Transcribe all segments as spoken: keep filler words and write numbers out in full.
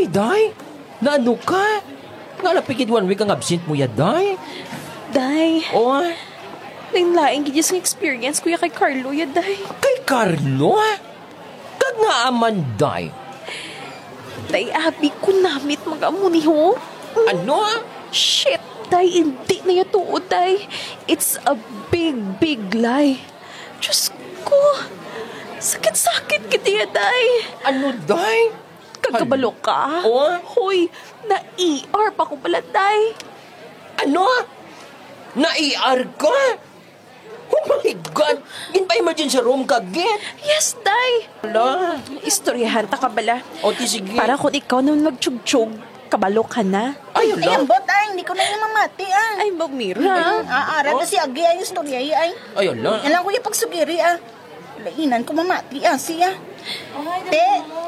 Day, naano ka? Nga lang pigid one week ang absent mo ya, Day? Day, O, ah? Lain-lain gid ang experience ko ya kay Carlo ya, Day. Kay Carlo? Kag ngaa man, Day? Day, abi ko namit mag-amo ni ho. Ano? Shit, Day, hindi na ya tuod, Day. It's a big, big lie. Diyos ko, sakit-sakit gid ya, Day. Ano, Day? Kag kabalo ka? O? Hoy, na-E R pa ko bala, Day. Ano? Na-E R ka? Oh my God! Ginpa-emergency room ka gid? Yes, Day. Hala. Istoryahan ta ka bala. O, ti sige. Para kung ikaw naman magtsugyog, kabalo ka na. Ay, Ay, hala. Ambot, ay, hindi ko na yung mamati, ah. Ay, Ma'am Mira. Ah, ara na si Agi, ay, istorya, ay. Ay, hala. Yan lang ko yung pagsugiri, ah. Lainan ko mamati, ah, siya. Te,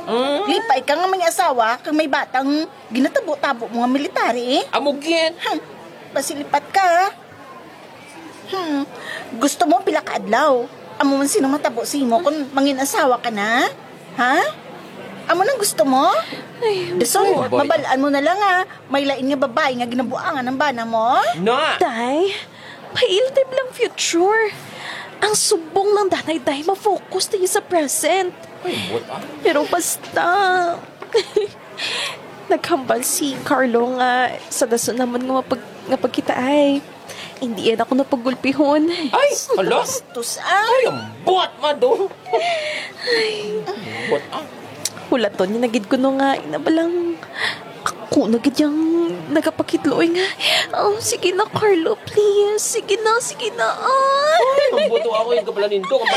Hmm? Lipay ka nga may asawa, kag may batang ginatabo-tabo mo nga military, eh. Amo gid. Hmm, pasilipat ka, ha? Hmm, gusto mo pila ka adlaw? Amo man sino matabo sa imo kung mangin-asawa ka na? Ha? Amo nang gusto mo? Ay, Dason, Boy. Mabalaan mo na lang, ha? May lain nga babae nga ginabuangan ang bana mo? Na! Day, pailtib lang future. Ang subong lang danay, Day, ma-focus tayo sa present. Ay, buot, ah. Pero basta, naghambal si Carlo nga sa dason naman nga mapag-, nga pagkita ay, hindi yan ako napagulpihon. Ay, hala. Bastos, ah. Ay, ang buot, ma, do. Buot, ah. Hulaton niya na gid kuno nga, inabalang ako na gid yang nagapakitloy nga, "Oh, sige na, Carlo, please. Sige na, sige na, ah." Ay, ang buto ako yung kabalanin to, kabalanin